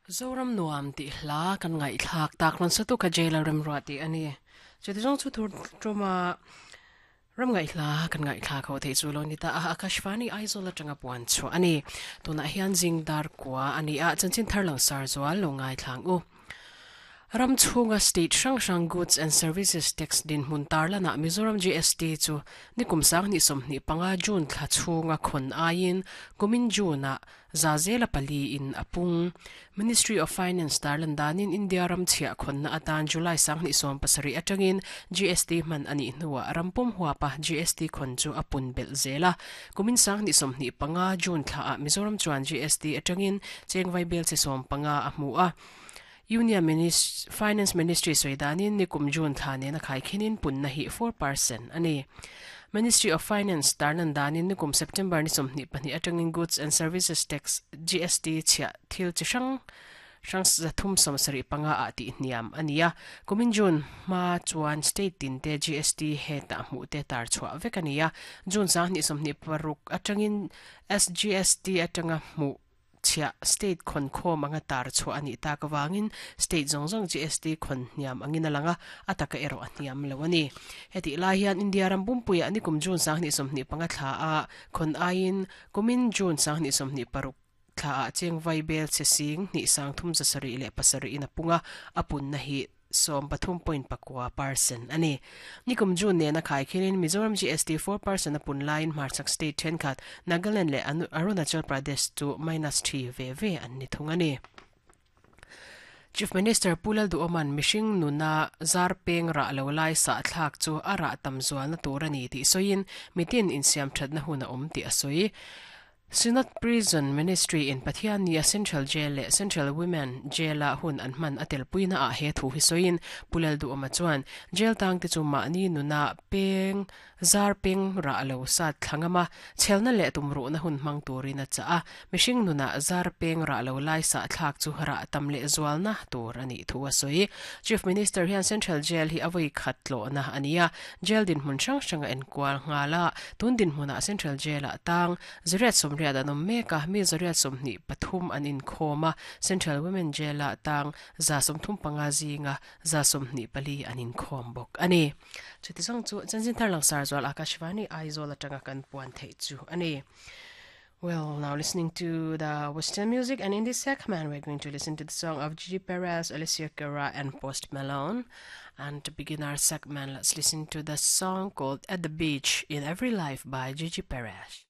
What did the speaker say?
Zoram nuam tih hla kan ngaihthlak tak rawn sa tu kha Jailer Remruat tih a ni. Chuti zawng chu tur tuma ram ngaihhla kan ngaihthlak ho theih chu lo ni ta a, Akashvani Aizawl atanga puan chhuah a ni. Tunah hian zing dar kua a ni a, chanchin thar lang sar zual lo ngaithlang u. Ram chhunga state hrang hrang Goods and Services Tax dinhmun tarlanah Mizoram GST chu nikum sanghnih 25 June thla chhunga khawn aiin kumin June-ah za zela pali in a pung. Ministry of Finance tarlan danin India ram chhiah khawnna atan July 2017 atangin GST hman a nih hnuah ram pum huapa GST khawn chu a pun belh zel a. Kumin 2025 June thlaah Mizoram chuan GST atangin cheng vaibel che 15 a hmu a. Union Finance Ministry sawi danin nikum June thla nena khaikhinin punna hi 4% a ni. Ministry of Finance tarlan danin nikum September ni 22 atangin Goods and Services Tax, GST, chhiah thil chi hrang hrang 375 ah tih hniam a ni a. Kumin June hma chuan state tin te GST hetah hmuh te tar chhuah vek a ni a. June 2026 atangin SGST atanga hmuh chhiah state khawn khawm anga tar chhuah a nih tak avangin state zawng zawng GST khawn hniam angin a lang a, a taka erawh a hniam lo a ni. Hetih lai hian India ram pumpuiah nikum June 2025 thla a khawn aiin kumin June 2026 thla ah cheng vai bel che sing hnih sang thum zasarih leh pasarih in a pung a, a punna hi 13.9 percent a ni. Nikum June nena khaikhinin Mizoram GST 4% a pun laiin hmarchhak state thenkhat Nagaland leh Arunachal Pradesh chu minus 3 ve ve an ni thung a ni. Chief Minister Pu Lalduhoma'n mihring nuna zar peng rah lo lai sah thlak chu a rah tam zualna tur a ni tih sawiin mitin insiam thatna hun a awm tih a sawi. Synod Prison Ministry in Pathian nia Central Jail leh Central Women Jail-a hun an hman a telpuina ah he thu hi sawiin Pu Lalduhawma chuan Jail tangte chu mahni nuna peng zar peng rah lo sat thla ngam a, chhelna leh tumruhna hun hmang turin a chah a, mihring nuna zar peng rah lo lai sah thlak chu rah tam leh zualna tur a nih thu a sawi. Chief Minister hian Central Jail hi a vawi khat tlawhna a ni a, Jail dinhmun hrang hrang a enkual nghal a, tun dinhmunah Central Jail-ah tang zariat sawmriat an awm mek a, mi zariat 23 an inkhawm a, Central Women Jail-ah tang 35 zinga 24 an inkhawm bawk a ni. Chuti zawng chu chanchin thar langsar zual Akashvani Aizawl atanga kan puan theih chu a ni. Well, now listening to the Western music, and in this segment, we're going to listen to the song of Gigi Perez, Alessia Cara, and Post Malone. And to begin our segment, let's listen to the song called At the Beach in Every Life by Gigi Perez.